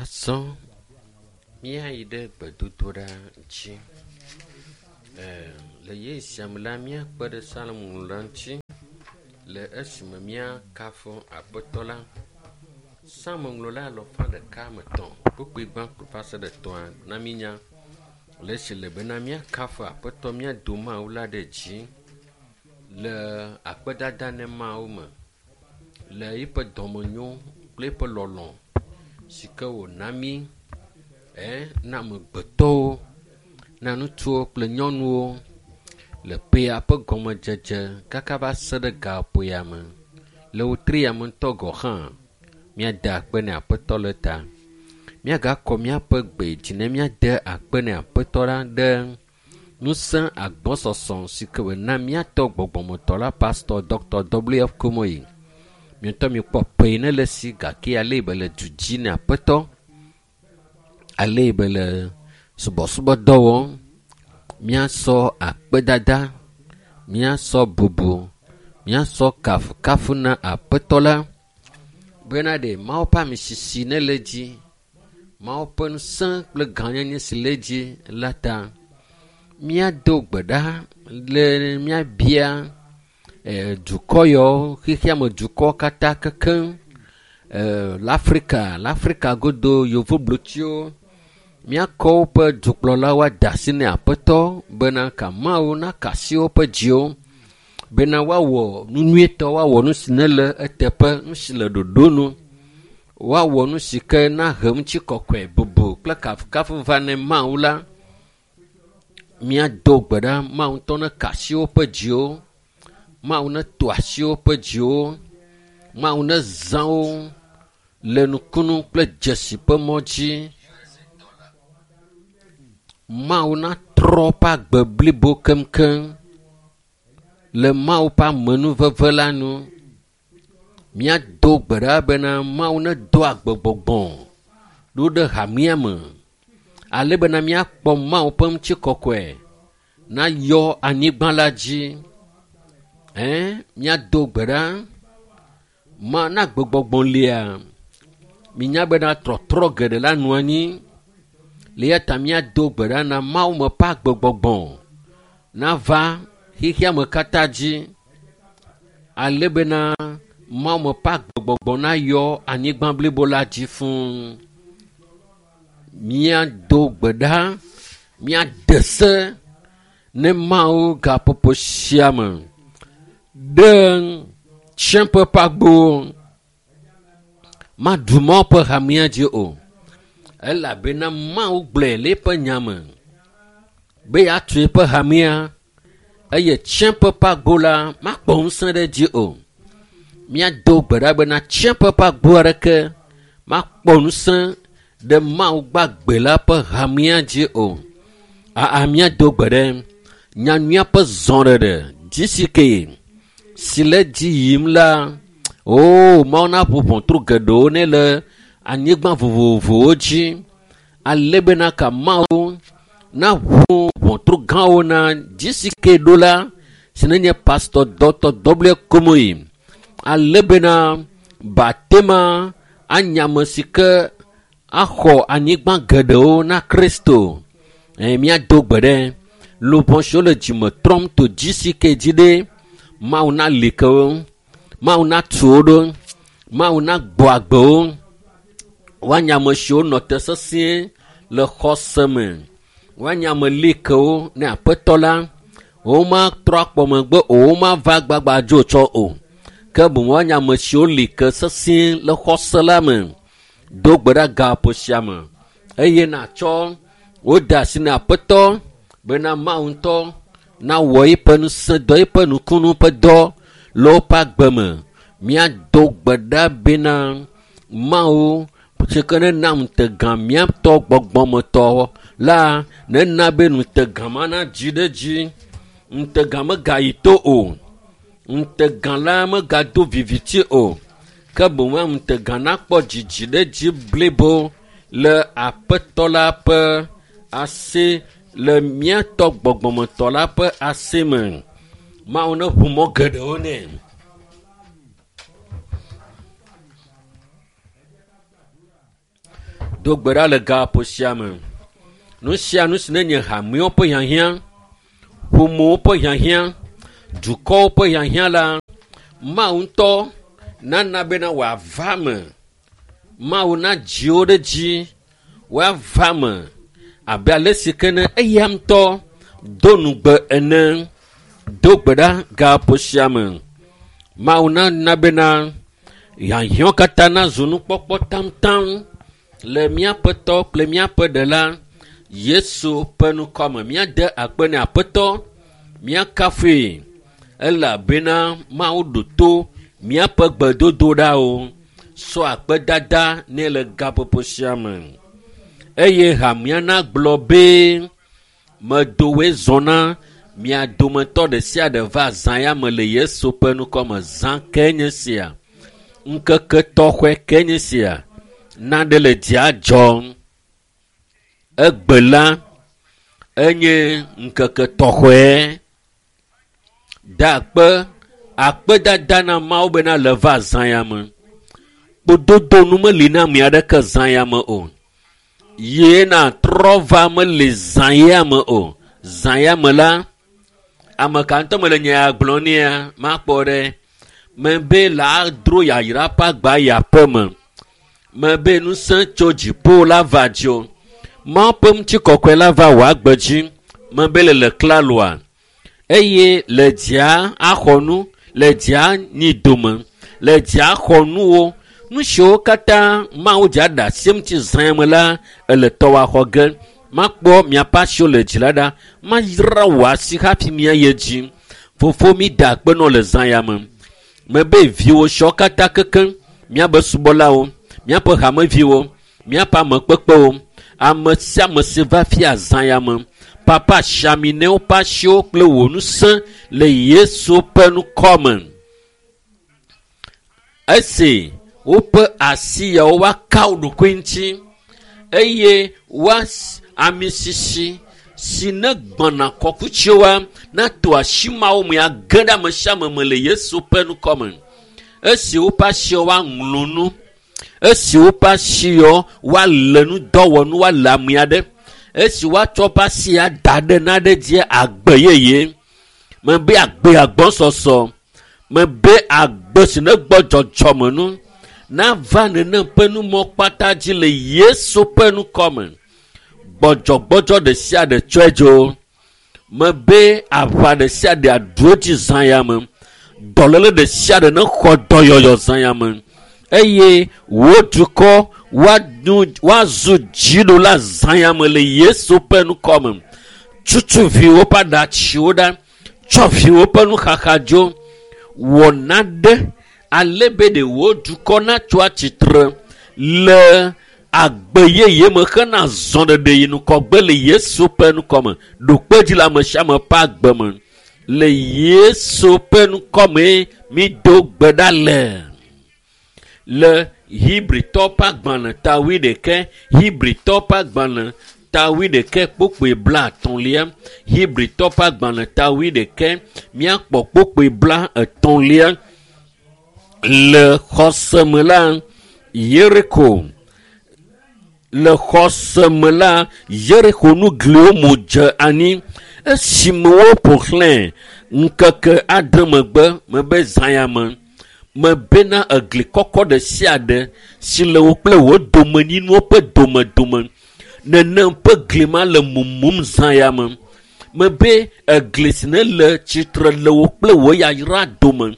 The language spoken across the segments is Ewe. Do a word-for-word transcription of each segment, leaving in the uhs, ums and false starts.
Azɔ míayi ɖe gbedodoɖa dzi. E, le ɣeyiɣi sia me la, míakpe ɖe Salomo la ŋuti le esime míakafu Aƒetɔ la. Psalmoŋlɔla alafa ɖeka ame etɔ̃ kpukpui gbãtɔ va se ɖe etɔ̃a na mínya le esi le bena míakafu Aƒetɔ míado Mawu la ɖe dzi le akpedada ne Mawu me le eƒe dɔmenyo kple eƒe lɔlɔ̃ si ke wòna mí e na amegbetɔwo, na ŋutsuwo kple nyɔnuwo le ƒea ƒe gɔmedzedze kaka va se ɖe gaƒoea me. Le wotria me ŋutɔ gɔ̃ hã míade akpe ne Aƒetɔ le ta. Míagakɔ míaƒe gbe dzi ne míade akpe ne Aƒetɔ la ɖe ŋusẽ agbɔsɔsɔ si ke wòna míatɔ gbɔgbɔmetɔ la Pastor Doctor W F Kumuyi. Mietɔ mikpɔ ƒe ne le si gake ale be le du dzi ne Aƒetɔ, ale be le subɔsubɔdɔ wɔm. Míasɔ akpedada, míasɔ bubu, míasɔ kafukafu na Aƒetɔ la bena ɖe Mawu ƒe amisisi ne le dzi, Mawu ƒe ŋusẽ kple gãnyenye si le dzi la ta. Míado gbe ɖa le míabia e, dukɔ yawo, xexeame dukɔ katã kekeŋ, e, le Afrika, le Afrika godo yevoblotsiwo. Míakɔ woƒe dukplɔlawo ade asi ne Aƒetɔ bena ka Mawu naka asi woƒe dziwo bena woawɔ nu nyuietɔ, woawɔ nu si ne le eteƒe, nu si le ɖoɖo nu, woawɔ nu si ke nahe ŋutikɔkɔe, bubu kple kafukafu va ne Mawu la. Míado gbe ɖa Mawu ŋutɔ neka asi woƒe dziwo, Mawu neto asi woƒe dziwo, Mawu nezã wo le nukunu kple dzesi ƒe mɔ dzi. Mawu natrɔ woƒe agbe blibo keŋkeŋ le Mawu ƒe amenuveve la nu. Míado gbe ɖa bena Mawu nedo agbegbɔgbɔ ɖo ɖe hamea me ale bena míakpɔ Mawu ƒe ŋutikɔkɔe nayɔ anyigba la dzi. Ɛ, míado gbe ɖa ma na agbegbɔgbɔ lia. Minya bena trɔtrɔ geɖe la nɔ anyi. Le eya ta míado gbe ɖa na Mawu me ƒe agbegbɔgbɔ nava xexeame katã dzi ale bena Mawu me ƒe agbegbɔgbɔ nayɔ anyigba blibo la dzi fũu. Míado gbe ɖa, míade se ne Mawu gaƒoƒo sia me ɖe tsiẽƒe ƒe agbowo maɖu Mawu ƒe hamea dzi o. Elabena Mawu gblɔe le eƒe nya me be yeatu eƒe hamea eye tsiẽƒe ƒe agbo la makpɔ ŋusẽ ɖe edzi o. Míado gbe ɖa bena tsiẽƒe ƒe agbo aɖeke makpɔ ŋusẽ ɖe Mawu gbagbe la ƒe hamea dzi o. Aa, míado gbe ɖe nyanyuia ƒe zɔɖeɖe G C K si le dzi yim la, o Mawu naʋu ʋɔtru geɖewo ne le anyigba vovovowo dzi ale bena ka Mawu naʋu ʋɔtru gãwo na G C K ɖo la si nenye Pastor Doctor W F Kumuyi ale bena batema anya ame si ke axɔ anyigba geɖewo na Kristo. E, míado gbe ɖe luʋɔ siwo le dzime trɔm to G C K dzi ɖe Mawu nali ke wo, Mawu natu wo ɖo, Mawu nagbɔ agbe wo. Woanye ame siwo nɔ te sesĩe le xɔse me. Woanye ame likewo ne Aƒetɔ la. Womatrɔ akpɔ megbe o, womava gbagba dzo tsɔ o. Ke boŋ woanye ame siwo li ke sesĩe le xɔse la me. Do gbe ɖa gaƒo sia me eye natsɔ wo de asi na Aƒetɔ bena Mawu ŋutɔ nawɔ eƒe ŋusẽ dɔ, eƒe nukunu ƒe dɔ le woƒe agbe me. Míado gbe ɖa bena Mawu si ke nena ŋutegã míatɔ gbɔgbɔmetɔ la nena be ŋutegã ma nadzi ɖe edzi. Ŋutegã megayi to o. Ŋutegã la megado viviti o. Ke boŋ ŋutegã nakpɔ dzidzi ɖe edzi blibo le Aƒetɔ la ƒe asi, le míatɔ gbɔgbɔmetɔ la ƒe asi me. Mawu neʋu mɔ geɖewo nɛ. Do gbe ɖa le gaƒoƒo sia me. Nu sia nu si ne nye hamewo ƒe hiahiã, ƒomewo ƒe hiahiã, dukɔwo ƒe hiahiã la, Mawu ŋutɔ nana bena wòava me. Mawu nadzi wo ɖe dzi woava me abe ale si ke ne eya ŋutɔ do nugbe ene. Do gbe ɖa gaƒoƒo sia me. Mawu nana bena hiahiãwo katã nazu nukpɔkpɔ taŋtaŋ le míaƒe tɔ kple míaƒe ɖela Yesu ƒe ŋkɔme. Míade akpe ne Aƒetɔ, míakafui elabena Mawu ɖo to míaƒe gbedodoɖawo. Sɔ akpedada nɛ le gaƒoƒo sia me. Eye hamea nagblɔ be medo woe zɔ na mia dometɔ ɖe sia ɖe va zã ya me le Yesu ƒe ŋkɔme. Zã ke nye sia. Ŋkeke tɔxɛ ke nye sia. Naɖe le dzia dzɔm. Egbe la enye ŋkeke tɔxɛ. Da akpe akpedada na Mawu bena le va zã ya me. Kpododo nu meli na ame aɖeke zã ya me o. Ye na trɔ va meli zã ya me o. Zã ya me la, ame ka ŋutɔ mele nya ya gblɔm nea, makpɔ ɖe. Mebe la dro yayra ƒe agba yi aƒe me. Mebe ŋusẽ tso dziƒo la va dzo. Mawu ƒe ŋutikɔkɔe la va wò agbe dzi. Mebe le le klaloa. Eye le dzia axɔ nu, le dzia nyi dome, le dzia xɔ nuwo. Nu siwo katã Mawu dza ɖe asi ŋuti zã me la, ele tɔwɔ xɔ ge. Makpɔ miaƒe asiwo le dzi la ɖa. Mayra wò asi hafi miayi dzi. Fofo mi da akpe nɔ le zã ya me. Mebe viwo siwo katã kekeŋ, míabe subɔlawo, míaƒe hameviwo, míaƒe amekpekpewo, ame sia ame si va fia zã ya me. Papa siaminewo ƒe asiwo kple wò ŋusẽ le Yesu ƒe ŋkɔme. Esi woƒe asi yawo woaka wo ɖokui ŋuti eye woa ami sisi si ne gbɔna kɔkutsiwoa nato asi mawo me age ɖe ame sia ame me le Yesu ƒe ŋkɔme. Esi woƒe asiwo woaŋlɔ nu, esi woƒe asiwo woalé nu dɔwɔnu woalé ame aɖe, esi woatsɔ woƒe asi ada ɖe naɖe dzi agbe yeye. Mebe agbe agbɔsɔsɔ, mebe agbe si ne gbɔ dzɔdzɔme nu nava nenem ƒe numɔ kpata dzi le Yesu ƒe ŋkɔme. Gbɔdzɔgbɔdzɔ ɖe sia ɖe tsɔe dzo. Mebe aʋa ɖe sia ɖe aɖu edzi zã ya me. Dɔléle ɖe sia ɖe ne xɔ dɔyɔyɔ zã ya me. Eye wò dukɔ woazu dziɖula zã ya me le Yesu ƒe ŋkɔme. Tutu viwo ƒe aɖatsiwo ɖa, tsɔ viwo ƒe nuxaxa dzo. Wɔ naɖe ale be ɖe wò dukɔ natso atsitre le agbe yeye me hena zɔɖeɖe yi ŋgɔgbe le Yesu ƒe ŋkɔme. Ɖo kpe dzi le ame sia ame ƒe agbe me. Le Yesu ƒe ŋkɔme mi do gbe ɖa le. Le Hebritɔ ƒe agbalẽ ta wuiɖekɛ, Hebritɔ ƒe agbalẽ ta wuiɖekɛ kpukpui bla etɔ̃lia, Hebritɔ ƒe agbalẽ ta wuiɖekɛ, míakpɔ kpukpui bla etɔ̃lia. Le xɔse me la, Yeriko. Le xɔse me la, Yeriko nu gliwo mu dze anyi. Esime woƒo xlãe ŋkeke adre megbe mebe zã ya me. Mebena egli kɔkɔ ɖe sia ɖe si le wo kple wo domenyinuwo ƒe domedome. Nenem ƒe gli ma le mumum zã ya me. Mebe egli si ne le tsitre le wo kple wo yayra dome.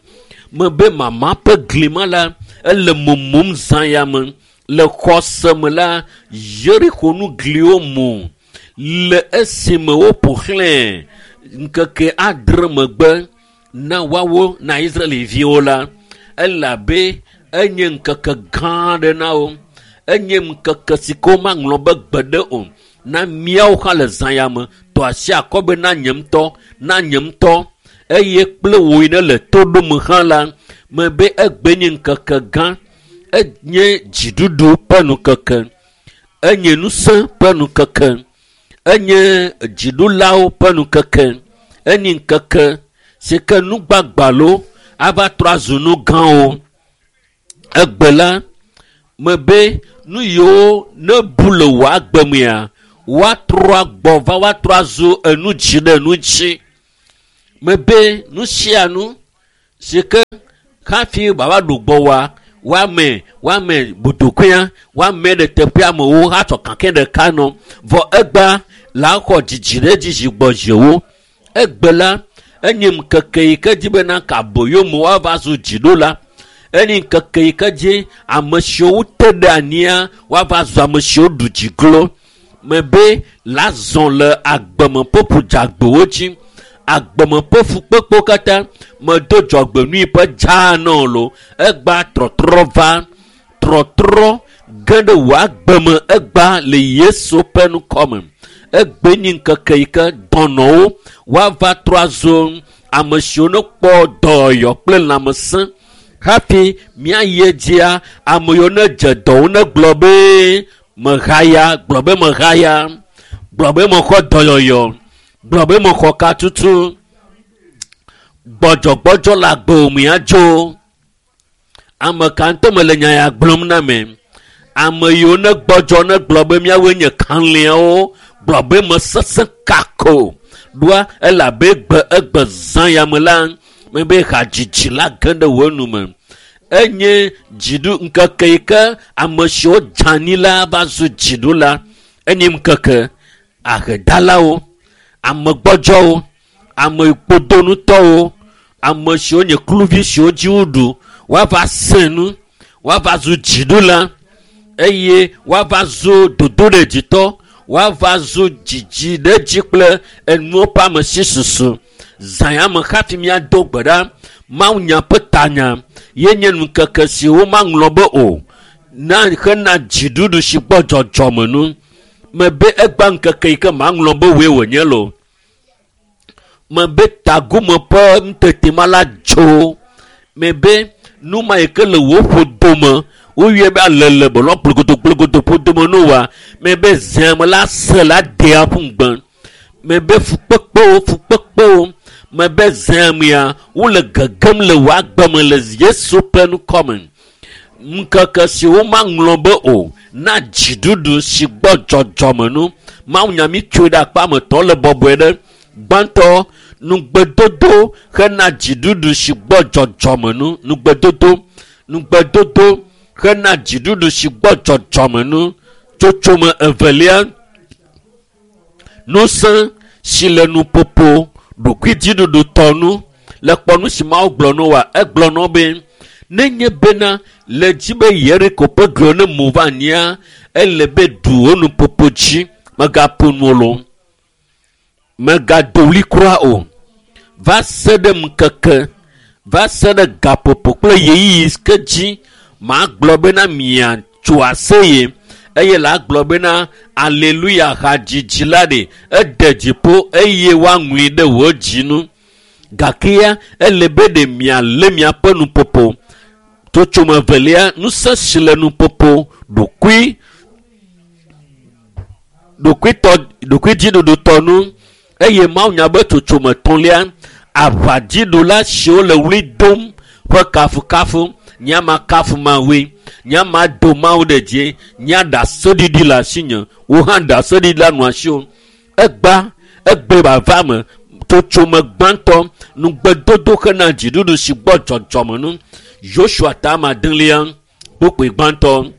Mebe mama ƒe gli ma la, ele mumum zã ya me. Le xɔse me la, Yeriko nu gliwo mu. Le esime woƒo xlãe ŋkeke adre megbe na woawo na Israelviwo la, elabe enye ŋkeke gã aɖe na wo. Enye ŋkeke si ke womaŋlɔ be gbeɖe o. Na míawo hã le zã ya me, tɔ asi akɔ be na nye ŋutɔ, na nye ŋutɔ. Eye kple wò yi ne le to ɖom hã la, mebe egbe nye ŋkeke gã. Enye dziɖuɖu ƒe ŋkeke. Enye ŋusẽ ƒe ŋkeke. Enye dziɖulawo ƒe ŋkeke. Enye ŋkeke si ke nugbagbalo ava trɔ azu nu gãwo. Egbe la, Mebe nu yiwo ne bu le wò agbe mea, woatrɔ agbɔ va woatrɔ azu enu dzi ɖe enu dzi. Mebe nu sia nu si ke hafi wòava ɖu gbɔ woa, woame woame botokoea, woame ɖe teƒe amewo hatsɔ kakɛ ɖeka nɔ. Vɔ egbea la xɔ dzidzi ɖe edzi zi gbɔ ziwo. Egbe la enye ŋkeke yi ke dzi bena kaboyome woava zu dziɖula. Enye ŋkeke yi ke dzi ame siwo te ɖe anyia woava zu ame siwo ɖu dzi glo. Mebe la zɔ le agbeme ƒe ƒudzagbewo dzi. Agbeme ƒe fukpekpewo katã medo dzɔgbenui ƒe dzaa na wo lo. Egba trɔtrɔ va, trɔtrɔ ge ɖe wò agbeme egba le Yesu ƒe ŋkɔme. Egbe nyi ŋkeke yi ke dɔnɔwo woava trɔ azu ame siwo ne kpɔ dɔyɔ kple lãmesẽ. Hafi míayi edzia, ame yiwo ne dze dɔwo ne gblɔ be mehaya, gblɔ be mehaya, gblɔ be mexɔ dɔyɔyɔ, gblɔ be mexɔ katutu. Gbɔdzɔgbɔdzɔ le agbewò me adzo. Ame ka ŋutɔ mele nya ya gblɔm na me. Ame yiwo ne gbɔdzɔ ne gblɔ be míawoe nye kalẽawo, gblɔ be mesesẽ kako. Ɖoa elabe egbe egbe zã ya me la, mebe hadzidzi la ge ɖe wò nu me. Enye dziɖu ŋkeke yi ke ame siwo dze anyi la va zu dziɖula. Enye ŋkeke ahedalawo, ame gbɔdzɔwo, ame kpodonutɔwo, ame siwo nye kluvi siwo dzi woɖu, woava sẽ nu, woava zu dziɖula eye woava zu dodoɖedzitɔ, woava zu dzidziɖedzi kple enuwo ƒe ame si susu. Zã ya me hafi míado gbe ɖa. Mawunya ƒe tanya ye nye ŋkeke si womaŋlɔ be o na hena dziɖuɖu si gbɔ dzɔdzɔme nu. Mebe egba ŋkeke yi ke maŋlɔ be woe wònye lo. Mebe tagume ƒe ŋutete ma la dzo. Mebe nu ma yi ke le wò ƒodome, woyɔe be alele belɔ gblẽgodo gblẽgodo ƒodome no wa. Mebe zea me la se la dea ƒu ŋugbe. Mebe fukpekpewo, fukpekpewo. Mebe zea mea, wole gegem le wò agbe me le Yesu ƒe ŋkɔme. Ŋkeke si womaŋlɔ be o na dziɖuɖu si gbɔ dzɔdzɔme nu. Mawunya mi tsoe ɖe akpa me tɔ le bɔbɔe ɖe. Gbãtɔ, nugbedodo hena dziɖuɖu si gbɔ dzɔdzɔme nu. Nugbedodo, nugbedodo hena dziɖuɖu si gbɔ dzɔdzɔme nu. Tsotsome evelia, ŋusẽ si le nuƒoƒo ɖokuidziɖuɖutɔ nu. Le kpɔ nu si Mawu gblɔ na woa, egblɔ na wo be nenye bena le dzi be Yeriko ƒe gliwo ne mu va anyia, ele be ɖu wò nuƒoƒo dzi, megaƒo nu o lo. Megado ɣli kura o. Va se ɖe ŋkeke, va se ɖe gaƒoƒo kple ɣeyiɣi ke dzi magblɔ bena miatso aseye eye la gblɔ bena aleluya hadzidzi la ɖe ede dziƒo eye woaŋlɔe ɖe wò dzi nu. Gake ya ele be ɖe mialé miaƒe nuƒoƒo. Tsotsome evelia, ŋusẽ si le nuƒoƒo ɖokui, ɖokuitɔ, ɖokuidziɖuɖutɔ nu eye Mawunya be tsotsome etɔ̃lia, aʋadziɖula siwo le ɣli dom ƒe kafukafu. Nye ma kafu Mawue, nye ma do Mawu ɖe dzi, nye ɖaseɖiɖi le asinye, wò hã ɖaseɖiɖi la nɔ asiwò. Egba, egbe vava me, tsotsome gbãtɔ, nugbedodo hena dziɖuɖu si gbɔ dzɔdzɔme nu. Yosua ta ame adelia, kpukpui gbãtɔ.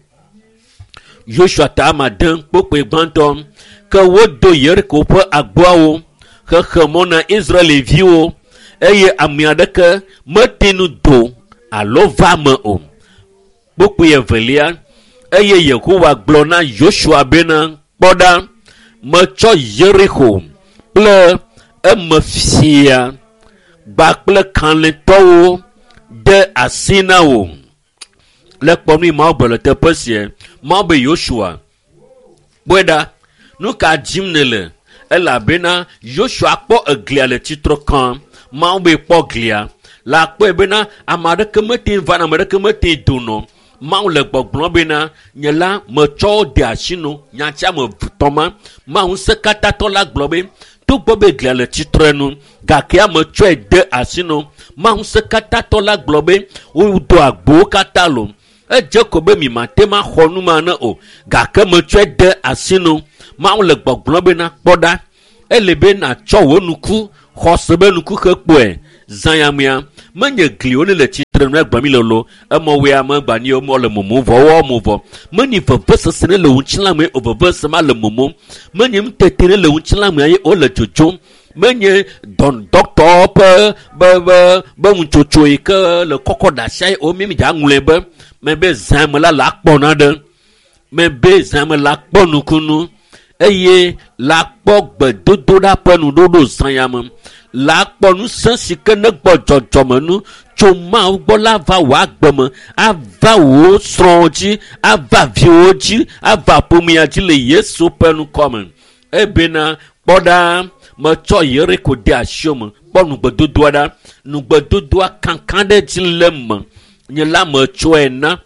Yosua ta ame ade, kpukpui gbãtɔ. Ke wodo Yeriko ƒe agboawo, xexe mɔ na Israelviwo eye ame aɖeke mete ŋu do alo va me o. Kpukpui evelia, eye Yehowa gblɔ na Yosua bena, kpɔ ɖa, metsɔ Yeriko kple eme fia kpakple kalẽtɔwo de asi na wò. Le kpɔ nu yi Mawu gblɔ le teƒe sia. Mawu be Yosua, kpɔe ɖa, nu ka dzim nèle? Elabena Yosua kpɔ eglia le tsitre kam. Mawu be kpɔ glia. La kpɔe bena ame aɖeke mete ŋu va, ame aɖeke mete ŋu donɔ. Mawu le gbɔgblɔm bena nye la metsɔ wo de asi no. Nyati ame etɔ̃ ma. Mawu ŋusẽkatãtɔ la gblɔ be togbɔ be glia le tsitre nu gake ame tsɔe de asi no. Mawu ŋusẽkatãtɔ la gblɔ be wodo agbowo katã lo. Edze ko be mi mate ma xɔ nu ma ne o. Gake metsɔe de asi nu. Mawu le gbɔgblɔm bena kpɔ ɖa. Ele be natsɔ wò nuku xɔse be nuku xe kpɔe. Zãyamea menye gliwo ne le tsitre nu egblɔm mi lolo. Emɔwoe ame gbani wo le mumu vɔ wɔ mu vɔ. Menye vevesese ne le ŋutilã me o vevesese ma le mumu. Menye nutete ne le ŋutilã me ye wole dzodzom. Menye dɔkitɔwo ƒe be be be ŋutsotso yi ke le kɔkɔ ɖe asia ye o mi mi dza ŋlɔe be mebe zãme la la kpɔ naɖe. Mebe zãme la kpɔ nukunu eye la kpɔ gbedodoɖa ƒe nuɖoɖo zãyame. La kpɔ ŋusẽ si ke ne gbɔ dzɔdzɔme nu tso Mawu gbɔ la va wò agbe me, ava wò srɔ̃wo dzi, ava viwò dzi, ava ƒomea dzi le Yesu ƒe ŋkɔ me. Ebena kpɔ ɖa metsɔ Yeriko de asiwò me. Kpɔ nugbedodoa ɖa. Nugbedodoa kankan ɖe dzi le me. Nye la metsɔe na.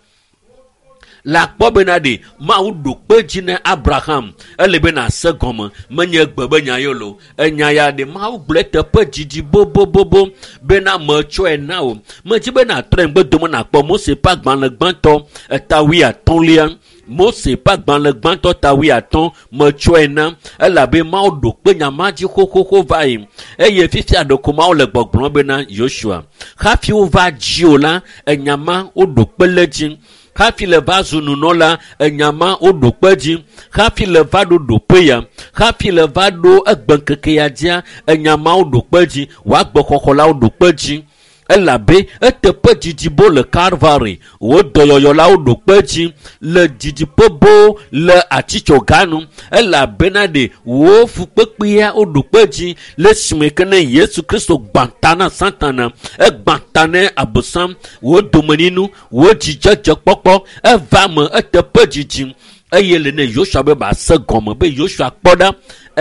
La kpɔ bena ɖe Mawu ɖo kpe dzi na Abraham. Ele be nase gɔme. Menye gbe be nya ye lo. Enya ya ɖe Mawu gblɔe teƒe dzidzi bobobobo bena metsɔe na wò. Medzi be natrɔe ŋgbedome nakpɔ Mose ƒe agbalẽ gbãtɔ eta wuiatɔ̃lia. Mose ƒe agbalẽ gbãtɔ ta wuiatɔ̃ metsɔe na. Elabe Mawu ɖo kpe nya ma dzi xoxoxo va yi. Eye fifia ɖeko Mawu le gbɔgblɔm bena Yosua hafi wova dzi o la, enya ma woɖo kpe le dzi. Hafi le va zu nunɔla, enya ma woɖo kpe dzi. Hafi le va ɖo ɖoƒe ya, hafi le va ɖo egbeŋkeke ya dzia, enya ma woɖo kpe dzi. Wò agbexɔxɔ la woɖo kpe dzi. Elabe eteƒe dzidzi bo le Kalvari, wò dɔyɔyɔ la woɖo kpe dzi le didiƒe bo le atitsoga nu. Elabena ɖe wò fukpekpea woɖo kpe dzi le esime ke ne Yesu Kristo gbã ta na Satana, egbã ta ne Abosam, wò domenyinu, wò dzidzedzekpɔkpɔ eva me eteƒe dzidzi. Eye le ne Yosua be base gɔme be Yosua kpɔ ɖa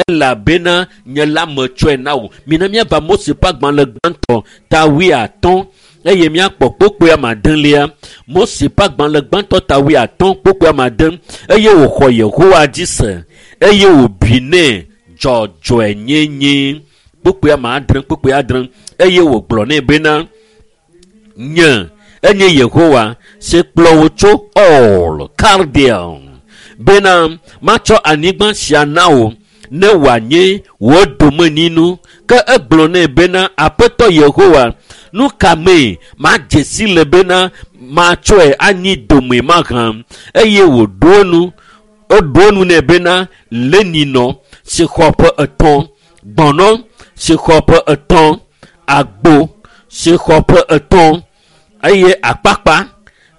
elabena nye la metsɔe na wò. Mina míava Mose ƒe agbalẽ gbãtɔ ta wuiatɔ̃ eye míakpɔ kpokpoe ame adelia. Mose ƒe agbalẽ gbãtɔ ta wuiatɔ̃ kpokpoe ame ade eye wòxɔ Yehowa dzi se eye wòbui nɛ dzɔdzɔenyenye. Kpokpoe ame adre kpokpoe adre eye wògblɔ nɛ bena nye enye Yehowa si kplɔ wò tso Ur Kaldea bena matsɔ anyigba sia na wò ne wòanye wò domenyinu. Ke egblɔ nɛ bena Aƒetɔ Yehowa, nu ka mee madze si le bena matsɔe anyi dome mahã? Eye wòɖo enu eɖo enu nɛ bena leninɔ si xɔ ƒe etɔ̃, gbɔ̃nɔ si xɔ ƒe etɔ̃, agbo si xɔ ƒe etɔ̃ eye akpakpa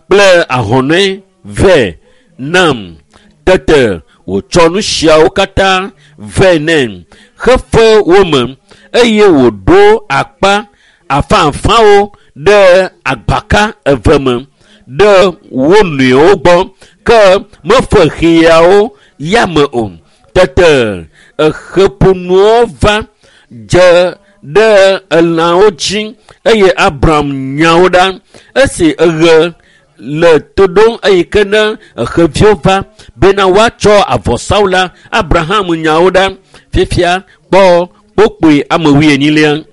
kple ahɔnɛ vɛ nam. Tete wòtsɔ nu siawo katã vɛ nɛ xefe wo me eye wòɖo akpa afãafãwo ɖe agbaka eve me ɖe wo nɔewo gbɔ ke mefe xiawo yame o. Tete exeƒonuwo va dze ɖe elãwo dzi eye Abram nya wo ɖa. Esi eɣe le to ɖom eyi ke ne xeviwo va bena woatsɔ avɔsawo la, Abraham nya wo ɖa. Fifia kpɔ kpokpoe ame wuienyilia.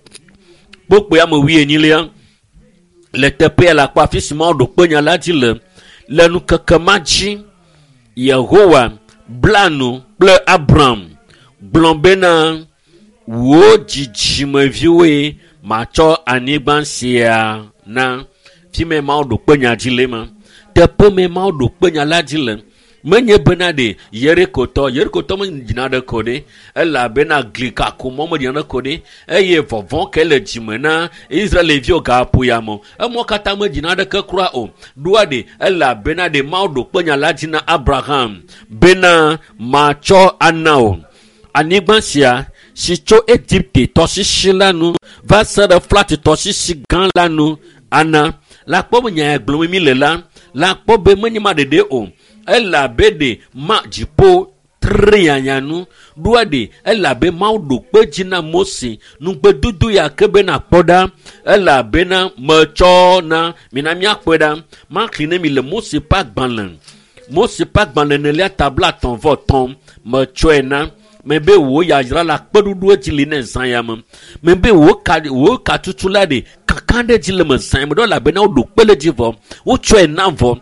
Kpokpoe ame wuienyilia le teƒea le akpɔ afi si Mawu ɖo kpe nya la dzi le. Le ŋkeke ma dzi Yehowa bla nu kple Abram gblɔ bena wò dzidzimeviwoe matsɔ anyigba sia na. Fi me Mawu ɖo kpe nya dzi le ma. Teƒe me Mawu ɖo kpe nya la dzi le. Menye bena ɖe Yerikotɔ, Yerikotɔ meɖina ɖe ko ɖe elabena gli kakumɔ meɖina ɖe ko ɖe eye vɔvɔ̃ ke le dzime na Israelviwo gaƒo ya me. Emɔ katã meɖina ɖeke kura o. Ɖoa ɖe elabena ɖe Mawu ɖo kpe nya la dzi na Abraham bena matsɔ ana wò anyigba sia si tso Egipte tɔsisi la nu va se ɖe Frat tɔsisi gã la nu ana. La kpɔ be nya ya gblɔm mi le la, la kpɔ be menye ma ɖeɖe o. Elabe ɖe ma dziƒo tre nu ɖoa ɖe elabe Mawu ɖo kpe dzi na Mose nugbedodo ya ke bena kpɔ ɖa elabena metsɔ na mina míakpɔe ɖa. Maxlẽ ne mi le Mose ƒe agbalẽ Mose ƒe agbalẽ enelia ta blaetɔ̃ vɔ etɔ̃ metsɔe na. Mebe wò yayra la kpeɖuɖu edzi li ne zã ya me. Mebe wò ka wò katutu la ɖe kaka ɖe dzi le me zã ya me ɖo elabena woɖo kpe le dzi vɔ wotsɔe na vɔ.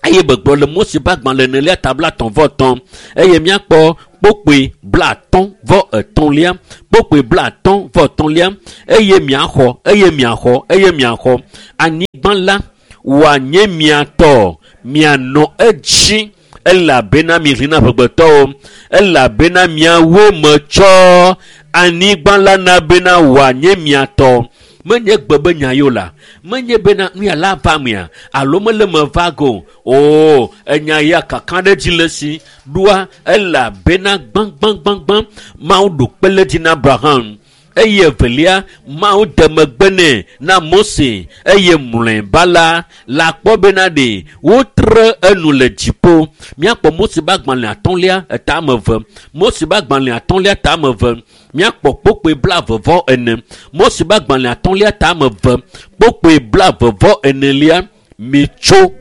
Eye begblɔ le Mose ƒe agbalẽ enelia ta blatɔ̃ vɔ etɔ̃ eye míakpɔ kpokpoe blatɔ̃ vɔ etɔ̃lia kpokpoe blatɔ̃ vɔ etɔ̃lia eye miaxɔ eye miaxɔ eye miaxɔ anyigba la wòanye mia tɔ mianɔ edzi elabena miʋli na amegbetɔwo elabena miawoe metsɔ anyigba la na bena wòanye mia tɔ. Menye gbe be nya yio la menye bena nu ya la va mea alo mele me va go o enya ya kaka ɖe dzi le si ɖoa elabena gbãgbãgbãgbã Mawu ɖo kpe le dzi na Abraham eye evelia Mawu de megbe nɛ na Mose eye mlɔeba la la kpɔ bena ɖe wotre enu le dziƒo. Míakpɔ Mose ƒe agbalẽ atɔ̃lia eta ame eve Mose ƒe agbalẽ atɔ̃lia ta ame eve míakpɔ kpokpoe blaeve vɔ ene Mose ƒe agbalẽ atɔ̃lia ta ame eve kpokpoe blaeve vɔ enelia mitso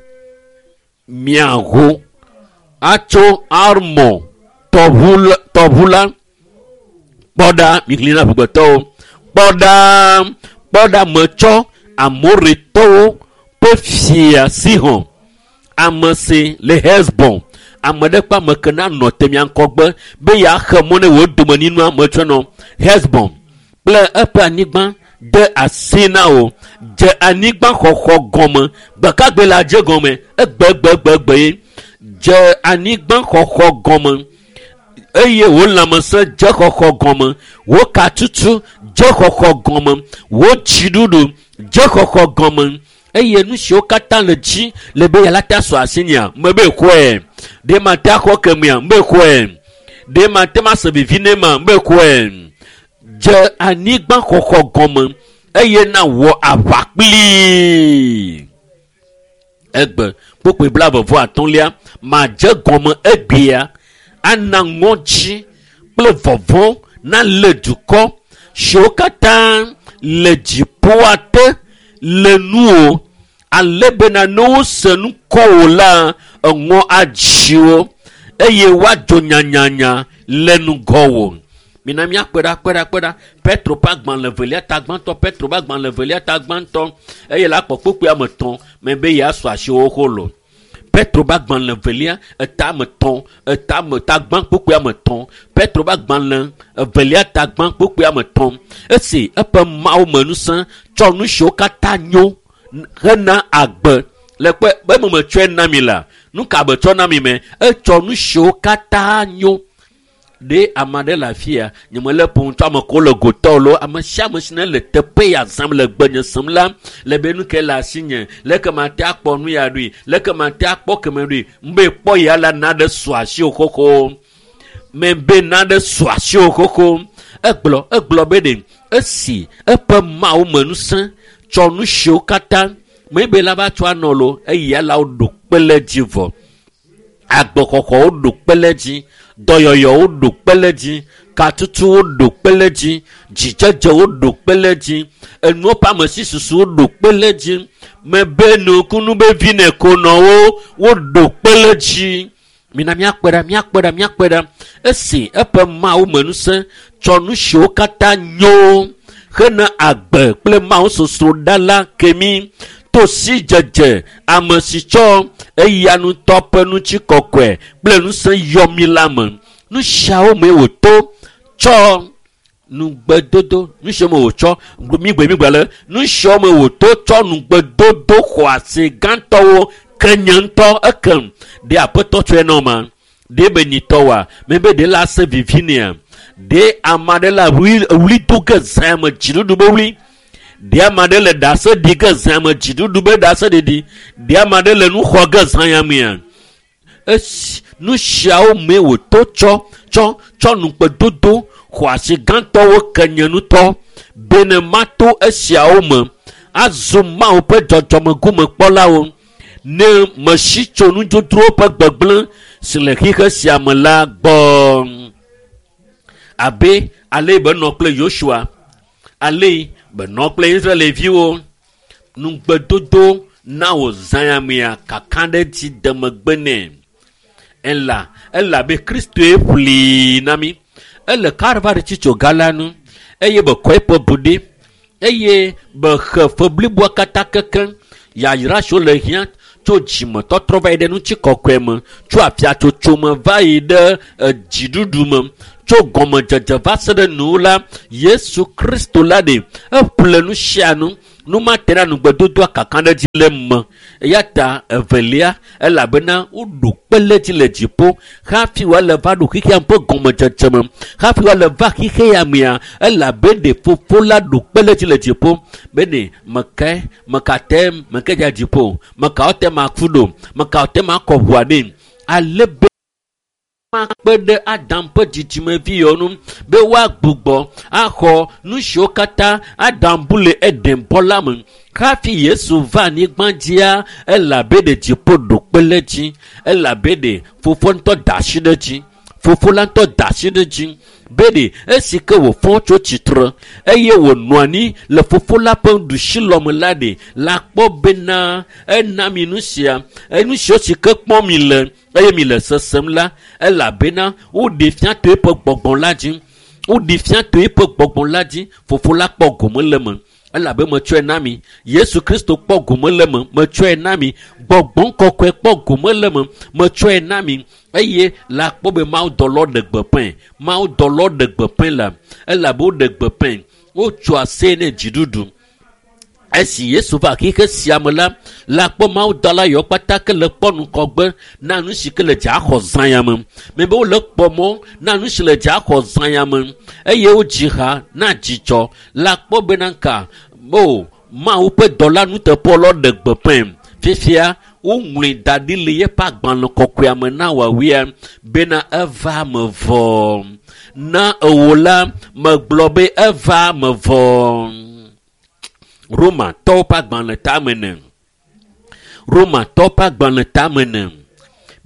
miaho atso Armɔ tɔʋu la kpɔ ɖa miʋli na amegbetɔwo kpɔ ɖa kpɔ ɖa metsɔ Amoritɔwo ƒe fia Sihon ame si le Hesbon ame ɖe kpe ame ke na nɔ te mia ŋgɔgbe be yeaxe mɔ ne wò domenyinua metsɔ nɔ Hesbon kple eƒe anyigba de asi na wò dze anyigba xɔxɔ gɔme gbekagbe la dze gɔme egbegbegbe ye dze anyigba xɔxɔ gɔme eye wò lãmesẽ dze xɔxɔ gɔme wò katutu dze xɔxɔ gɔme wò dziɖuɖu dze xɔxɔ gɔme eye nu siwo katã le dzi le be yala te asɔ asi nia mebe xɔe ɖe ma te axɔ kemea mebe xɔe ɖe ma te ma se vivi ne ma mebe xɔe dze anyigba xɔxɔ gɔme eye na wɔ aʋa kplii egbe kpokpoe blaeve vɔ atɔ̃lia madze gɔme egbea ana ŋɔdzi kple vɔvɔ̃ na le dukɔ siwo katã le dziƒoa te le nuwo ale bena ne wose nu kɔ wò la eŋɔ adzi wo eye woadzo nyanyanya le ŋgɔwò. Mina míakpe ɖa kpe ɖa kpe ɖa Petro ƒe agbalẽ evelia ta gbãtɔ Petro ƒe agbalẽ evelia ta gbãtɔ eye la kpɔ kpokpoe ame etɔ̃ me be yeasu asiwo xolo. Petro ƒe agbalẽ evelia eta ame etɔ̃ eta ame ta gbã kpokpoe ame etɔ̃ Petro ƒe agbalẽ evelia ta gbã kpokpoe ame etɔ̃ esi eƒe Mawu me ŋusẽ tsɔ nu siwo katã nyo hena agbe le kpe be eme metsɔe na mi la nu ka be tsɔ na mi me etsɔ nu siwo katã nyo ɖe ame aɖe le afia nyemele ƒom tso ame ko le gotɔ lo ame sia ame si ne le teƒe ya zãm le gbenye sem la le be nu ke le asinye leke mate akpɔ nu ya ɖui leke mate akpɔ keme ɖui mbe kpɔ ya la na ɖe su asiwò xoxo mebe na ɖe su asiwò xoxo egblɔ egblɔ be ɖe esi eƒe Mawu me ŋusẽ tsɔ nu siwo katã mebe la va tsɔ anɔ lo eya la woɖo kpe le dzi vɔ agbexɔxɔwo ɖo kpe le dzi dɔyɔyɔwo ɖo kpe le dzi katutuwo ɖo kpe le dzi dzidzedzewo ɖo kpe le dzi enuwo ƒe amesisusuwo ɖo kpe le dzi mebe nukunu be vi ne konɔwo woɖo kpe le dzi. Mina míakpe ɖa míakpe ɖa míakpe ɖa esi eƒe Mawu me ŋusẽ tsɔ nu siwo katã nyo hena agbe kple Mawu sosroɖa la ke mí to sidzedze ame si tsɔ eya ŋutɔ ƒe ŋutikɔkɔe kple ŋusẽ yɔ mí la me. Nu siawo mee wòto tsɔ nugbedodo nu siwo me wòtsɔ migbe migbe le nu siwo me wòto tsɔ nugbedodo xɔasi gãtɔwo ke nye ŋutɔ ekem ɖe aƒetɔ tsɔe na ma ɖe be nyitɔ wa mebe ɖe la se vivi nea ɖe ame aɖe la wli do ge zã me dziɖuɖu be wli ɖe ame aɖe le ɖase ɖi ge zã me dziɖuɖu be ɖase ɖiɖi ɖe ame aɖe le nu xɔ ge zã ya mea esi nu siawo mee wòto tsɔ tsɔ tsɔ nugbedodo xɔasi gãtɔwo ke nye ŋutɔ bene mato esiawo me azu Mawu ƒe dzɔdzɔmegomekpɔlawo ne mesi tso nudzodzrowo ƒe gbegblẽ si le xixe sia me la gbɔ. Abe ale benɔ kple Yosua ale benɔ kple Israelviwo nugbedodo na wò zã ya mea kaka ɖe dzi de megbe nɛ ela elabe Kristoe ƒli na mí ele Kalvari tsitsoga la nu eye bekɔ eƒe bu ɖi eye bexe fe bliboa katã kekeŋ yayra siwo le hiã Tso dzimetɔtrɔ va yi ɖe ŋutikɔkɔe me, tso afiatsotso me va yi ɖe dziɖuɖu me, tso gɔmedzedze va se ɖe nu la, Yesu Kristo la ɖe eƒle nu sia nu. Nu ma te na nugbedodoa kaka ɖe dzi le me. Eya ta evelia, elabena woɖo kpe le dzi le dziƒo hafi wòale va ɖo xexea ƒe gɔmedzedze me. Hafi wòale va xexea mea, elabe ɖe fofo la ɖo kpe le dzi le dziƒo. Bene meke meka te meke dza dziƒo, meka te ma ku ɖo, meka te ma kɔ ʋua ɖe. Ale be makpe ɖe Adam ƒe dzidzimeviwo ŋu be woagbugbɔ axɔ nu siwo katã Adam bu le Eden bɔ la me. Hafi Yesu va anyigba dzia, elabe ɖe dziƒo ɖo kpe le dzi, elabe ɖe fofo ŋutɔ da asi ɖe dzi. Fofo la ŋutɔ da asi ɖe dzi. Be ɖe esi ke wòfɔ tso tsitre eye wònɔ anyi le fofo la ƒe ɖusilɔme la ɖe la kpɔ bena ena mi nu sia, enu siwo si ke kpɔm mi le eye mi le sesem la, elabena woɖe fia to eƒe gbɔgbɔ la dzi. Woɖe fia to eƒe gbɔgbɔ la dzi. Fofo la kpɔ gome le eme, elabe metsɔe na mi. Yesu Kristo kpɔ gome le eme, metsɔe na mi. Gbɔgbɔ kɔkɔe kpɔ gome le eme, metsɔe na mi. Eye la kpɔ be Mawu dɔlɔ ɖe gbeƒãe. Mawu dɔlɔ ɖe gbeƒãe la, elabe woɖe gbeƒãe. Wotso ase ne dziɖuɖu. Esi Yesu va xexe sia me la, la kpɔ Mawu dɔla yawo kpata ke le kpɔ ŋgɔgbe na nu si ke le dza xɔ zã ya me. Mebe wole kpɔ mɔ na nu si le dza xɔ zã ya me eye wodzi ha na dzidzɔ. La kpɔ bena ka o Mawu ƒe dɔla nuteƒewɔlawo ɖe gbeƒãe. Fifia woŋlɔe da ɖi le yeƒe agbalẽ kɔkɔea me na woawia bena eva me vɔ. Na ewo la megblɔ be eva me vɔ. Romatɔwo ƒe agbalẽ tame ne. Romatɔwo ƒe agbalẽ tame ne.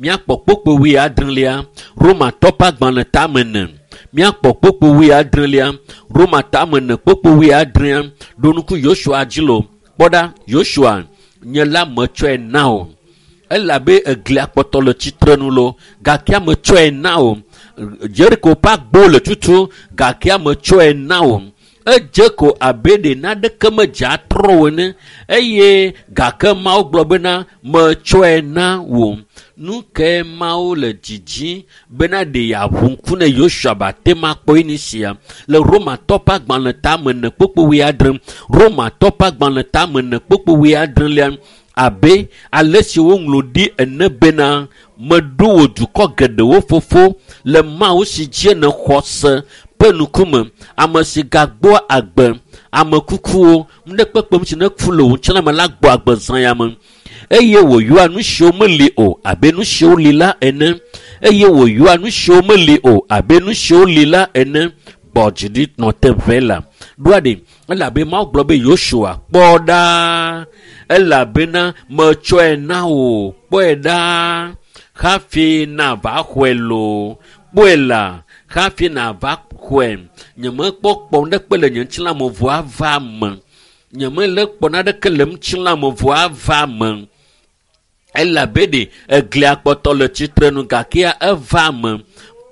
Míakpɔ kpokpo wuiadrelia. Romatɔwo ƒe agbalẽ tame ne. Míakpɔ kpokpo wuiadrelia. Roma tame ne kpokpo wuiadrea. Ɖo ŋku Yosua dzi lo. Kpɔ ɖa, Yosua, nye la metsɔe na wò. Elabe eglia kpɔtɔ le tsitre nu lo, gake metsɔe na wò. Jeriko ƒe agbo le tutu, gake metsɔe na wò. Edze ko abe ɖe naneke medze atrɔ wò ene eye gake Mawu gblɔ bena metsɔe na wò. Nu kae Mawu le dzidzi bena ɖe yeaʋu ŋku ne Yosua be ate ŋu akpɔ nu sia? Le Romatɔ ƒe agbalẽ tame ene kpokpo wuiadre, Romatɔ ƒe agbalẽ tame ene kpokpo wuiadrelia, abe ale si woŋlɔ ɖi ene bena meɖo wò dukɔ geɖewo fofo le Mawu si dzi nèxɔ se ƒe ŋkume, ame si gagbɔa agbe ame kukuwo, nuɖekpekpe si neku le wò ŋutilã me la gbɔ agbe zã ya me. Eye wòyɔa nu siwo meli o abe nu siwo li la ene. Eye wòyɔa nu siwo meli o abe nu siwo li la ene. Gbɔ dzi ɖi nɔ te ʋɛ la. Ɖoa ɖe, elabe Mawu gblɔ be Yosua kpɔ ɖa, elabena metsɔe na wò, kpɔe ɖa hafi nava xɔe loo. Kpɔe la hafi nava xɔe. Nyemekpɔ kpɔ ɖekpe le nye ŋutilã me vɔa va me. Nyemele kpɔ naneke le ŋutilã me vɔa va me. Elabe ɖe eglia kpɔtɔ le tsitre nu gake eva me.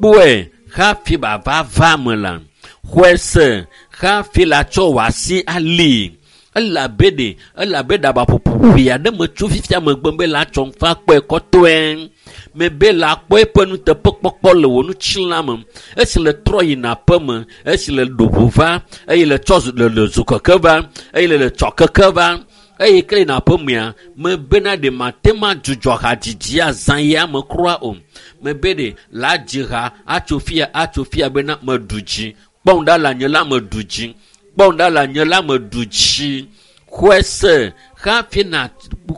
Kpɔe hafi bava va me la. Xɔe se hafi la tsɔ wò asi ali. Elabe ɖe elabe ɖabaƒoƒo ʋee aɖe metso fifia megbe be la tsɔ ŋfa kpɔe kɔtɔe. Mebe la kpɔ eƒe nuteƒekpɔkpɔ le wò ŋutilã me. Esi le trɔ yina aƒe me, esi le ɖo ʋu va, eye le tsɔ le le zokeke va, eye le le tsɔ keke va, eye ke yina aƒe mea, mebena ɖe mate ŋu adzudzɔ hadzidzi azã ya me kura o. Mebe ɖe la dzi ha atso fia atso fia bena meɖu dzi. Kpɔm ɖa le nye la meɖu dzi. Kpɔm ɖa le nye la meɖu dzi. Xɔe se hafi na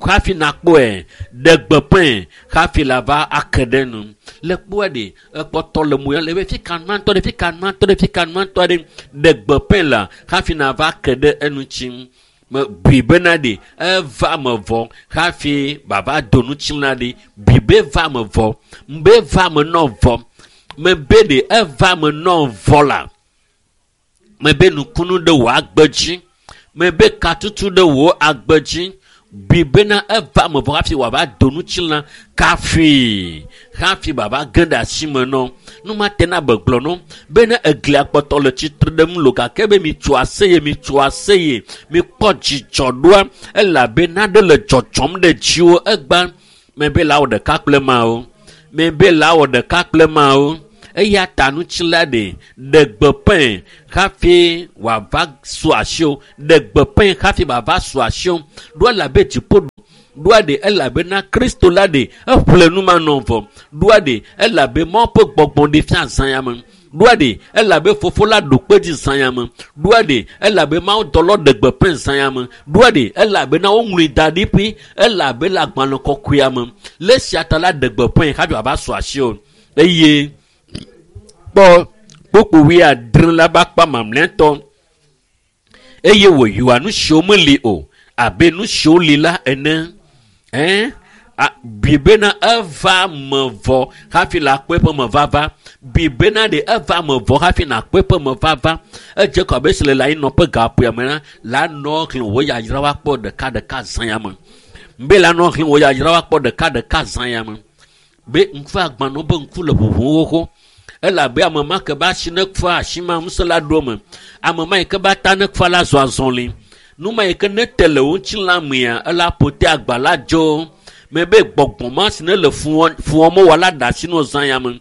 hafi nakpɔe ɖe gbeƒãe hafi la va ake ɖe nu. Le kpɔe ɖe ekpɔtɔ le moya le be fi ka nua ŋutɔ ɖe fi ka nua ŋutɔ ɖe fi ka nua ŋutɔ ɖe ɖe gbeƒãe la hafi nava ke ɖe enu tsi. Me bui bena ɖe eva me vɔ hafi bava do ŋutilã ɖe. Bui be va me vɔ, be va me nɔ vɔ. Mebe ɖe eva me nɔ vɔ la. Mebe nukunu ɖe wò agbe dzi. Mebe katutu ɖe wò agbe dzi. Bibena eva me vɔ hafi wòava do ŋutilã kafi hafi baba ge ɖe asi me nɔ. Nu ma te na begblɔ nɔ bena eglia kpɔtɔ le tsitre ɖe ŋu lo gake be mitso aseye mitso aseye mikpɔ dzidzɔ ɖoa elabena ɖe le dzɔdzɔm ɖe dziwò egba mebe la wɔ ɖeka kple mawo mebe la wɔ ɖeka kple mawo eya ta ŋutilã ɖe ɖe gbeƒãe hafi wòava su asiwò ɖe gbeƒãe hafi wòava su asiwò ɖo elabe dziƒo ɖoa ɖe elabena Kristo la ɖe eƒle nu ma nɔ vɔ ɖoa ɖe elabe Mawu ƒe gbɔgbɔ ɖe fia zã ya me ɖoa ɖe elabe fofo la ɖo kpe dzi zã ya me ɖoa ɖe elabe Mawu dɔlɔ ɖe gbeƒãe zã ya me ɖoa ɖe elabena woŋlɔe da ɖi ƒi elabe le agbalẽ kɔkɔea me le esia ta la ɖe gbeƒãe hafi wòava su asiwò eye kpɔ kpokpo wuiadre la ƒe akpa mamlɛtɔ eye wòyɔa nu siwo meli o abe nu siwo li la ene. Ɛn bibena eva me vɔ hafi la kpɔ eƒe me vava bibena ɖe eva me vɔ hafi na kpɔ eƒe me vava edze kɔ abe si le la anyinɔƒe gaƒoa me la la nɔ xlẽ wò yayra woakpɔ ɖeka ɖeka zã ya me be la nɔ xlẽ wò yayra woakpɔ ɖeka ɖeka zã ya me be ŋku agbanɔ be ŋku le ʋuʋum xoxo elabe ame ma ke be asi ne kfa asi ma ŋusẽ la ɖo me ame ma yi ke be ata ne kfa la zɔ azɔli nu ma yi ke ne te le wo ŋutilã mea ela ƒote agba la dzo mebe gbɔgbɔ ma si ne le fuwɔm wɔ la ɖe asi no zã ya me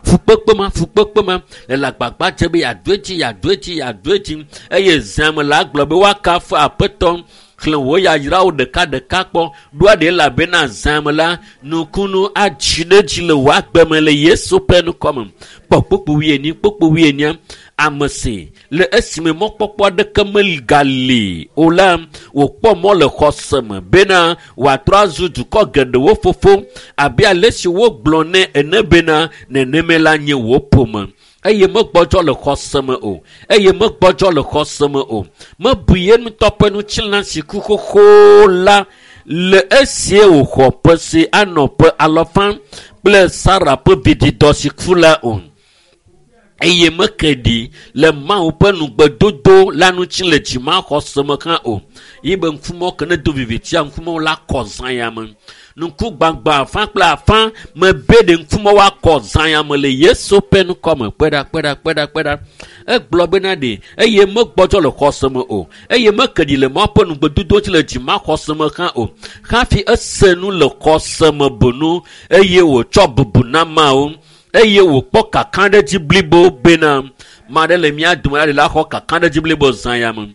fukpekpe ma fukpekpe ma le le agbagba dze be yeado edzi yeado edzi yeado edzi eye zã me la gblɔ be woakafu aƒetɔ xlẽ wò yayrawo ɖeka ɖeka kpɔ ɖoa ɖe elabena zã me la nukunu adzi ɖe dzi le wò agbe me le Yesu ƒe ŋkɔ me kpɔ kpokpo wuienyi kpokpo wuienyia ame si le esime mɔkpɔkpɔ aɖeke megali o la wòkpɔ mɔ le xɔse me bena wòatrɔ azu dukɔ geɖewo fofo abe ale si wogblɔ nɛ ene bena neneme la nye wò ƒome eye megbɔdzɔ le xɔse me o eye megbɔdzɔ le xɔse me o mebu ye ŋutɔ ƒe ŋutilã si ku xoxo la le esie wòxɔ ƒe si anɔ ƒe alafa kple Sara ƒe vidzidɔ si ku la o eye meke ɖi le Mawu ƒe nugbedodo la ŋuti le dzimaxɔse me hã o yi be ŋkumɔ ke ne do vivitia ŋkumɔwo la kɔ zã ya me ŋku gbagba afã kple afã mebe ɖe ŋkumɔ woakɔ zã ya me le Yesu ƒe ŋkɔ me kpe ɖa kpe ɖa kpe ɖa kpe ɖa egblɔ bena ɖe eye megbɔdzɔ le xɔse me o eye meke ɖi le Mawu ƒe nugbedodo ŋuti le dzimaxɔse me hã o hafi ese nu le xɔse me bonu eye wòtsɔ bubu na Mawu eye wòkpɔ kakaɖedzi blibo bena ma ɖe le mía dome la ɖe la xɔ kakaɖedzi blibo zã ya me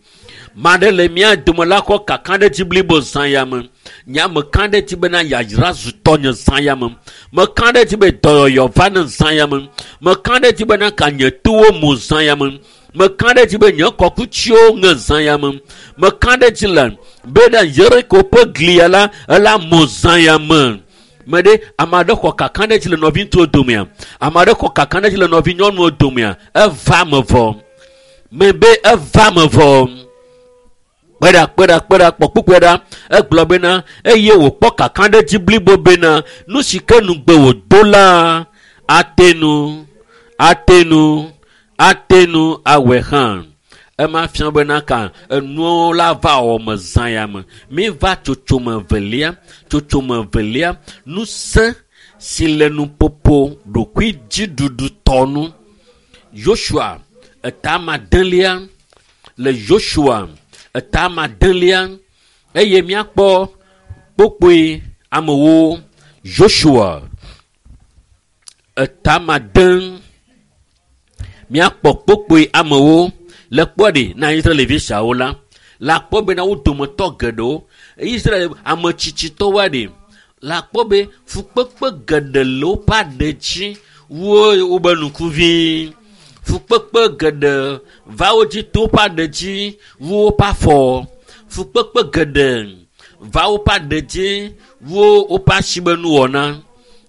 ma ɖe le mía dome la xɔ kakaɖedzi blibo zã ya me nya meka ɖe dzi bena yayra zu tɔnye zã ya me meka ɖe dzi be dɔyɔyɔ va ne zã ya me meka ɖe dzi bena ka nye towo mu zã ya me meka ɖe dzi be nye kɔkutsiwo ŋe zã ya me meka ɖe dzi le bena Yeriko ƒe glia la ela mu zã ya me me ɖe ame aɖe xɔ kakaɖedzi le nɔvi ŋutsuwo domea ame aɖe xɔ kakaɖedzi le nɔvi nyɔnuwo domea eva me vɔ mebe eva me vɔ kpe ɖa kpe ɖa kpe ɖa kpɔ kpukpue ɖa egblɔ bena eye wòkpɔ kakaɖedzi blibo bena nu si ke nugbe wòdo la ate nu ate nu ate nu awɔe hã ema fia bena ka enuwo la va wɔ me zã ya me mi va tsotsome velia tsotsome velia ŋusẽ si le nuƒoƒo ɖokuidziɖuɖutɔ nu Yosua eta madelia le Yosua eta madelia eye míakpɔ kpokpoe amewo Yosua eta made míakpɔ kpokpoe amewo le kpɔ ɖe na Israelvi siawo la la kpɔ bena wo dometɔ geɖewo Israel ame tsitsitɔwoa ɖe la kpɔ be fukpekpe geɖe le woƒe aɖe dzi wo wobe ŋkuvi fukpekpe geɖe va wo dzi to woƒe aɖe dzi wu woƒe afɔ fukpekpe geɖe va woƒe aɖe dzi wu woƒe asi be nuwɔna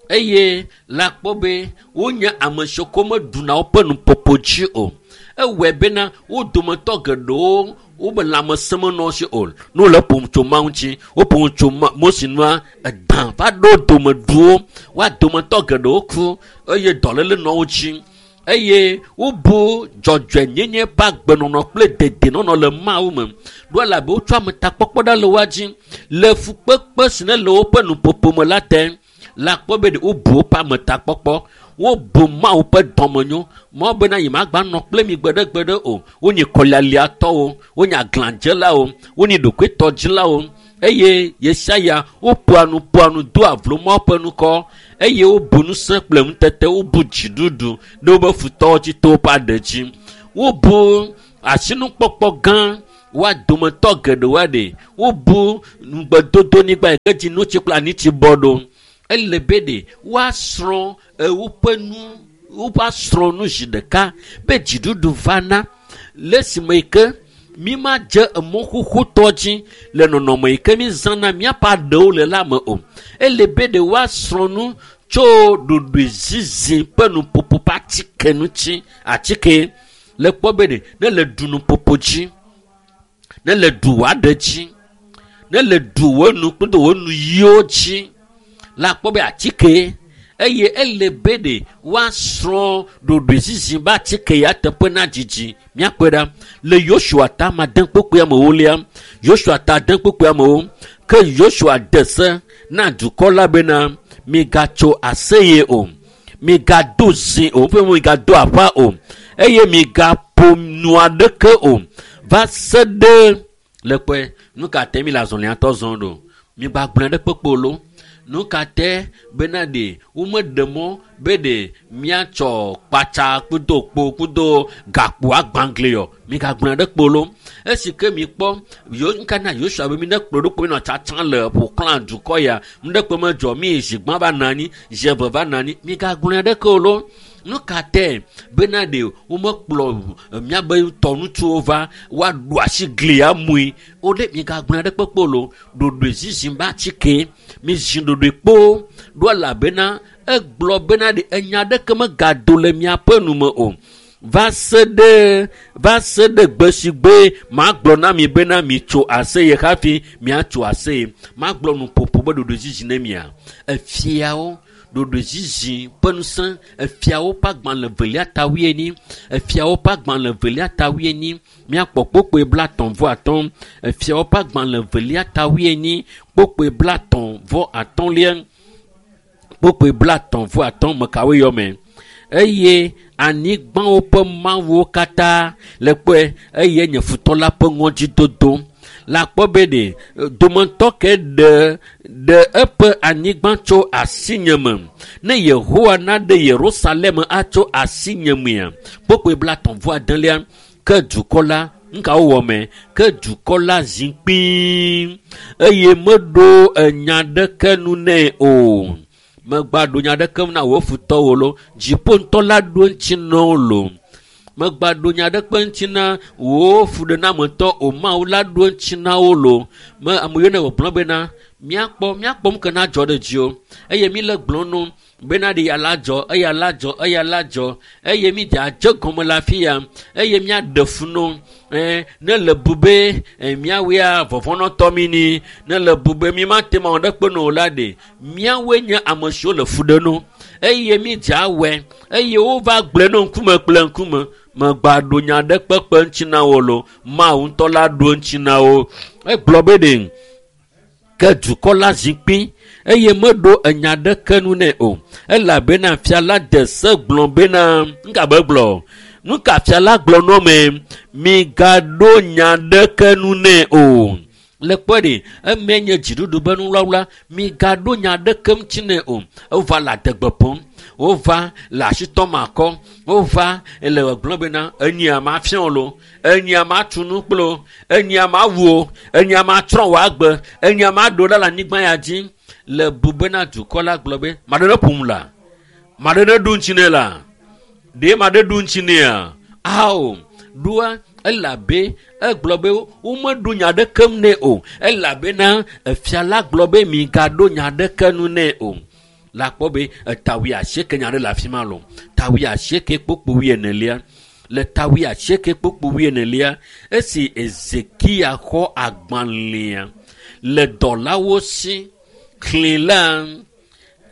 eye la kpɔ be wonye ame siwo ko meɖuna woƒe nuƒoƒo dzi o ewɔe bena wo dometɔ geɖewo wobe lãmesẽ menɔ si o ne wole ƒom tso Mawu ŋuti woƒom tso Mose nua edã va ɖo domeduwo woa dometɔ geɖewo ku eye dɔléle nɔ wo dzi Eye wobu dzɔdzɔenyenye ƒe agbenɔnɔ kple dedienɔnɔ le Mawu me. Ɖo elabe wotsɔ ametakpɔkpɔ ɖa le woa dzi le fukpekpe si ne le woƒe nuƒoƒo me la te. La kpɔ be wobu woƒe ametakpɔkpɔ, wobu Mawu ƒe dɔmenyo. Mawu bena yemagba nɔ kple mi gbeɖegbeɖe o. Wonye kɔlialiatɔwo, wonye aglãdzelawo, wonye ɖokuitɔdzilawo. Eye Yesaya woƒoa nu ƒoa nu doa vlo Mawu ƒe ŋkɔ eye wobu ŋusẽ kple ŋutete, wobu dziɖuɖu ɖe woƒe futɔwo dzi to woƒe aɖe dzi. Wobu asinukpɔkpɔ gã woa dometɔ geɖewo aɖe. Wobu ŋugbedodonyigba yi ke dzi notsi kple anitsi bɔ ɖo. Ele be ɖe woasrɔ̃ woƒe nu, woƒe asrɔ̃ nu zi ɖeka be dziɖuɖu vana le esime yi ke mi ma dze emɔ xoxotɔ dzi le nɔnɔme yi ke mi zãna míaƒe aɖewo le la me o. Ele be ɖe woasrɔ̃ nu tso ɖoɖoezizi ƒe nuƒoƒo ƒe atike ŋuti. Atike le kpɔ be ɖe ne le ɖu nuƒoƒo dzi, ne le ɖu wò aɖe dzi, ne le ɖu wò nu kple wò nuyiwo dzi la kpɔ be atike eye ele be ɖe woasrɔ̃ ɖoɖoezizi be atike ya teƒe na dzidzi. Míakpɔe ɖa le Yosua ta ame ade kpokpoe amewolia, Yosua ta ade kpokpoe amewo ke Yosua de se na dukɔ la bena migatso aseye o, migado zi o, ƒe migado aƒa o, eye migaƒo nu aɖeke o va se ɖe le kpɔe. Nu ka te mi le azɔliatɔ zɔm ɖo? Migbagblẽ ɖe kpekpe lo. Nu ka te bena ɖe womeɖe mɔ be ɖe míatsɔ kpatsa kudo kpo kudo gakpo agbãgli yɔ. Migagblẽ ɖe kpo lo. Esi ke mikpɔ yo nuka na Yosua be mi ne kplɔ ɖo kpo mi nɔ tsatsam le ƒoxlã dukɔ ya. Nu ɖe kpe medzɔ mi zi gbã va nɔ anyi, zi eve va nɔ anyi. Migagblẽ ɖeke o lo. Nu ka te bena ɖe womekplɔ míabe tɔnutsuwo va woaɖo asi glia mui. Wo ɖe migagblẽ ɖe kpekpe o lo. Ɖoɖoezizi be atike. Mi zi ɖoɖoe kpo ɖo elabena egblɔ bena ɖe enya ɖeke megado le miaƒe nu me o. Va se ɖe, va se ɖe gbe si gbe magblɔ na mi bena mitso aseye hafi miatso aseye. Magblɔ nuƒoƒo be ɖoɖoezizi ne mia. Efiawo ɖoɖoezizi ƒe ŋusẽ, efiawo ƒe agbalẽ velia ta wuienyi, efiawo ƒe agbalẽ velia ta wuienyi, míakpɔ kpokpoe blaetɔ̃ vɔ atɔ̃, efiawo ƒe agbalẽ velia ta wuienyi, kpokpoe blaetɔ̃ vɔ atɔ̃lia, kpokpoe blaetɔ̃ vɔ atɔ̃ mekawoe yɔ me. Eye anyigbawo ƒe mawuwo katã le kpɔe eye nye futɔ la ƒe ŋɔdzidodo. La kpɔ be ɖe dometɔ ke ɖe, ɖe eƒe anyigba tso asinye me. Ne Yehowa naɖe Yerusalem atso asinye mea, kpokpoe blaetɔ̃ vɔ adelia, ke dukɔ la, nuka wowɔ me? Ke dukɔ la zi kpii eye meɖo enya ɖeke nu nɛ o. Megba ɖo nya ɖeke na wò futɔwo lo. Dziƒo ŋutɔ la ɖo ŋuti na wo lo. Megba ɖo nya ɖeke ŋuti na wò fuɖenametɔ o. Mawu la ɖo ŋuti na wo lo. Me ame yiwo ne wògblɔ bena míakpɔ, míakpɔ nu ke na dzɔ ɖe dzi o. Eye mi le gblɔ no bena ɖe ya la dzɔ, eya la dzɔ, eya la dzɔ. Eye mi dze adze gɔme le afi ya. Eye míaɖe fu no. Eh, ne le bu be, eh, míawoea vɔvɔnɔtɔ mi ni. Ne le bu be mi mate ma wɔ ɖe kpe no la ɖe. Míawoe nye ame siwo le fu ɖe no. Eye mi dze awɔe. Eye wova gblɔe no ŋkume kple ŋkume. Megba ɖo nya ɖe kpekpe ŋuti na wo lo. Mawu ŋutɔ la ɖo ŋuti na wo. Egblɔ be ɖe ke dukɔ la zi kpi eye meɖo enya ɖeke nu nɛ o. Elabena fia la de se gblɔ bena, nuka be gblɔ? Nuka fia la gblɔ nɔ me? Migaɖo nya ɖeke nu nɛ o. Le kpɔe ɖe, eme nye dziɖuɖu be nuwlawla, migaɖo nya ɖeke ŋuti nɛ o. Wova le adegbe ƒom, wova le asitɔ makɔ, wova le gblɔ bena enyia ma fia wo lo, enyia ma tu nu kple wo, enyia ma wu wo, enyia ma trɔ wò agbe, enyia ma ɖo ɖa le anyigba ya dzi. Le bu bena dukɔ la gblɔ be, ma ɖe ne ƒom la, ma ɖe ne ɖo ŋuti nɛ la, ɖe ma ɖe ɖo ŋuti nɛa? Ao, ɖoa elabe egblɔ be womeɖo nya ɖeke nɛ o. Elabena efia la gblɔ be migaɖo nya ɖeke nu nɛ o. La kpɔ be eta wuiasieke nya ɖe le afi ma lo. Ta wuiasieke kpokpo wuienelia. Le ta wuiasieke kpokpo wuienelia, esi Ezekia xɔ agbalẽa le dɔlawo si, xlẽ la,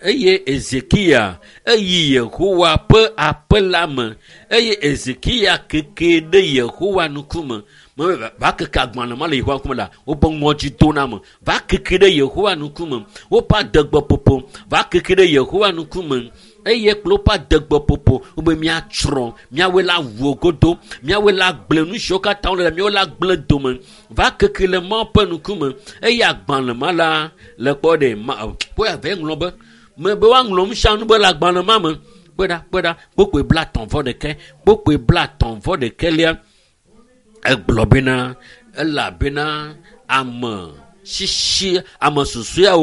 Eye Ezekiya eyi Yehowa ƒe aƒe la me eye Ezekiya keke ɖe Yehowa ŋkume. Me va keke agbalẽ ma le Yehowa ŋkume la, woƒe ŋɔdzi dona me. Va keke ɖe Yehowa ŋkume. Woƒe adegbeƒoƒo va keke ɖe Yehowa ŋkume. Eye kple woƒe adegbeƒoƒo wobe míatsrɔ̃, míawoe la wu godo, míawoe la gblẽ nu siwo katã wole la, míawoe la gblẽ dome. Va keke le Mawu ƒe ŋkume eye agbalẽ ma la le kpɔ ɖe ma kpɔe ave ŋlɔ be me be woaŋlɔ nu sia nu be le agbalẽ ma me. Kpɔe ɖa, kpɔe ɖa, kpokpoe blaetɔ̃ vɔ ɖekɛ, kpokpoe blaetɔ̃ vɔ ɖekɛlia egblɔ bena elabena ame sisi ame susɔeawo